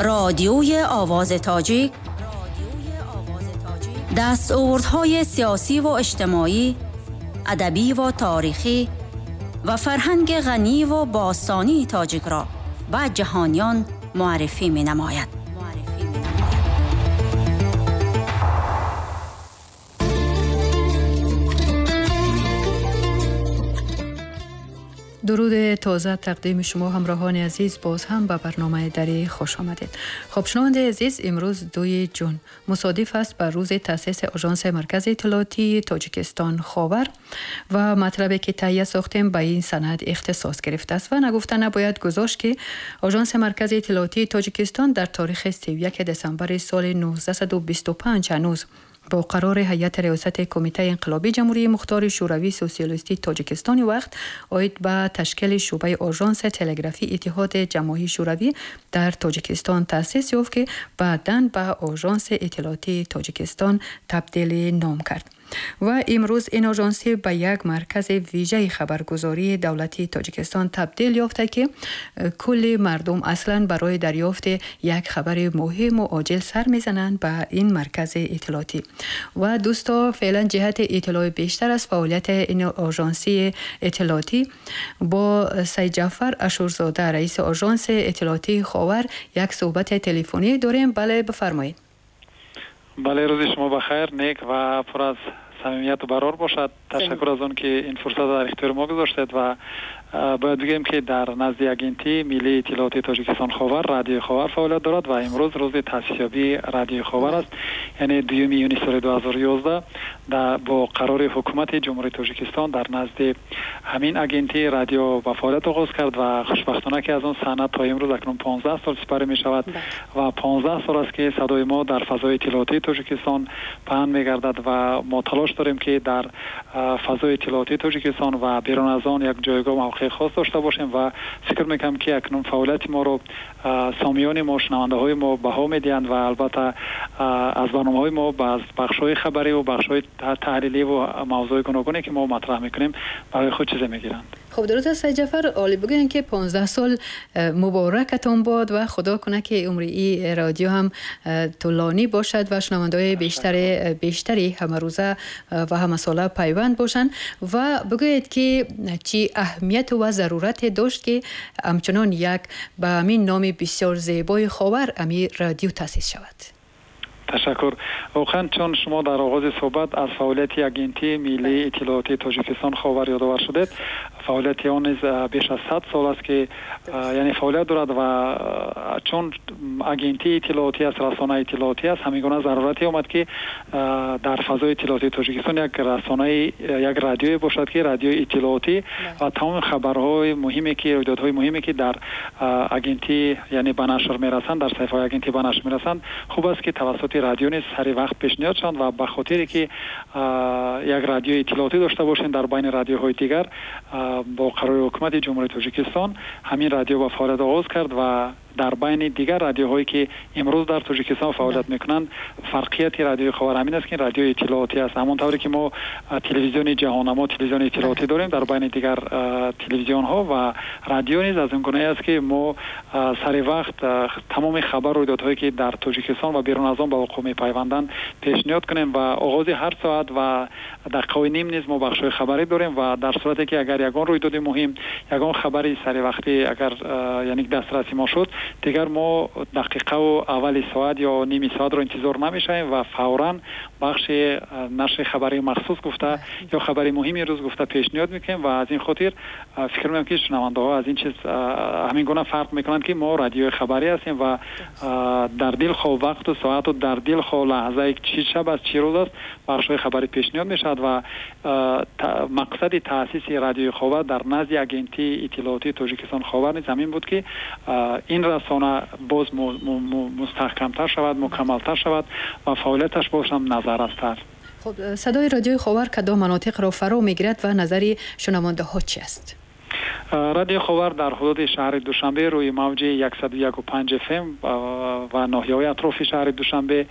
رادیوی آواز تاجیک دستاوردهای سیاسی و اجتماعی، ادبی و تاریخی و فرهنگ غنی و باستانی تاجیک را به جهانیان معرفی می نماید. درود تازه تقدیم شما همراهان عزیز، باز هم به برنامه دری خوش آمدید. خب شنونده عزیز، امروز 2 جون مصادف است بر روز تأسیس آژانس مرکز اطلاعاتی تاجیکستان خاور و مطلبی که تهیه ساختیم به این سند اختصاص گرفته است و نگفته نباید گذاشت که آژانس مرکز اطلاعاتی تاجیکستان در تاریخ 31 دسامبر سال 1925 هنوز با قرار هیئت ریاست کمیته انقلابی جمهوری مختار شوروی سوسیالیستی تاجیکستان وقت عاید به تشکیل شعبه آژانس تلگرافی اتحاد جماهیر شوروی در تاجیکستان تأسیس یافت که بعداً به آژانس اطلاعاتی تاجیکستان تبدیل نام کرد. و امروز این آژانسی به یک مرکز ویژه خبرگزاری دولتی تاجیکستان تبدیل یافته که کل مردم اصلا برای دریافت یک خبر مهم و عاجل سر میزنند به این مرکز اطلاعاتی. و دوستا، فعلا جهت اطلاع بیشتر از فعالیت این آژانسی اطلاعاتی با سید جعفر عاشورزاده، رئیس آژانس اطلاعاتی خاور، یک صحبت تلفنی داریم. بله، بفرمایید. بله، روز شما بخیر، نیک و پر از صمیمیت و برار باشد. تشکر از آن که این فرصت در اختیار ما گذاشتید و باید بگیم که در نزد اگنتی ملی اطلاعاتی تاجیکستان خاور، رادیو خاور فعالیت دارد و امروز روز تأسیسیابی رادیو خاور است، یعنی 2 یونی سال 2011 با قرار حکومت جمهوری تاجیکستان در نزد همین اگنتی رادیو به فعالیت آغاز کرد و خوشبختانه که از آن سند تا امروز اکنون 15 سال سپری می شود و 15 سال است که صدای ما در فضای اطلاعاتی تاجیکستان پهن می گردد و ما تلاش داریم که در فضای اطلاعاتی تاجیکستان و بیرون از آن یک جایگاه موقع خاص داشته باشیم و فکر میکنم که اکنون فعالیت ما رو سامیان ما، شنونده های ما بها میدهند و البته از برنامه های ما از بخش های خبری و بخش های تحلیلی و موضوع گوناگونی که ما مطرح میکنیم برای خود چیزی میگیرند. خب درود از سید جعفر، عالی بگوین که 15 سال مبارکتون باد و خدا کنه که عمر ای رادیو هم طولانی باشد و شنونده‌های بیشتری همه روزه و همه ساله پیوند باشند. و بگویید که چی اهمیت و ضرورت داشت که همچنان یک به همین نام بسیار زیبای خاور امی رادیو تأسیس شود؟ تشکر. واقعا چون شما در آغاز صحبت از فعالیت اگنتی ملی اطلاعاتی تاجیکستان خاور یادآور شدید، فعالیت آن نیز بیش از 100 سال است که یعنی فعالیت دارد و چون اگنتی اطلاعاتی است، رسانه اطلاعاتی است، همین گونه ضرورتی آمد که در فضای اطلاعاتی تاجیکستان یک رسانه، یک رادیوی باشد که رادیوی اطلاعاتی و تمام خبرهای مهمی که رویدادهای مهمی که در اگنتی یعنی به نشر میرسند، در صفحه اگنتی به نشر میرسند، خوب است که توسط رادیو نیز سری وقت پیشنهاد شوند و به خاطر که یک رادیوی اطلاعاتی داشته باشیم در بین رادیوهای دیگر، با قرار حکومت جمهوری تاجیکستان همین رادیو به فعالیت آغاز کرد و در بین دیگر رادیوهایی که امروز در تاجیکستان فعالیت میکنند، فرقیت رادیوی خاور همین است که رادیوی اطلاعاتی است. همان طوری که ما تلویزیون جهانما، تلویزیون اطلاعاتی داریم در بین دیگر تلویزیون ها و رادیو نیز از این گونه است که ما سر وقت تمام خبر و رویدادهایی که در تاجیکستان و بیرون از آن به وقوع میپیوندند پیشنهاد کنیم و آغاز هر ساعت و دقیقه نیم نیز ما بخش خبری داریم و در صورتی که اگر یگان رویداد مهم، یگان خبری سر وقتی اگر یعنی دسترسی ما شد، دیگر ما دقیقه و اول ساعت یا نیم ساعت رو انتظار نمیشیم و فوراً بخش نشر خبری مخصوص گفته یا خبری مهمی روز گفته پیشنهاد میکنیم و از این خاطر فکر میکنم که شنونده ها از این چیز همین گونه فرق میکنند که ما رادیو خبری هستیم و در دل خو وقت و ساعت و در دل خو لحظه چی شب است چی روز است بخش های خبری پیشنهاد میشود و مقصد تأسیس رادیو خاور در نزد اگنتی اطلاعاتی تاجیکستان خاور نیز همین بود که این رسانه باز مستحکمتر شود، مکملتر شود و فعالیتش باز هم نظررستر. خب صدای رادیوی خاور کدام مناطق را فرا میگیرد و نظر شنونده ها چی است؟ رادیو خاور در حدود شهر دوشنبه روی موج 101.5 اف ام و ناحیه‌های اطراف شهر دوشنبه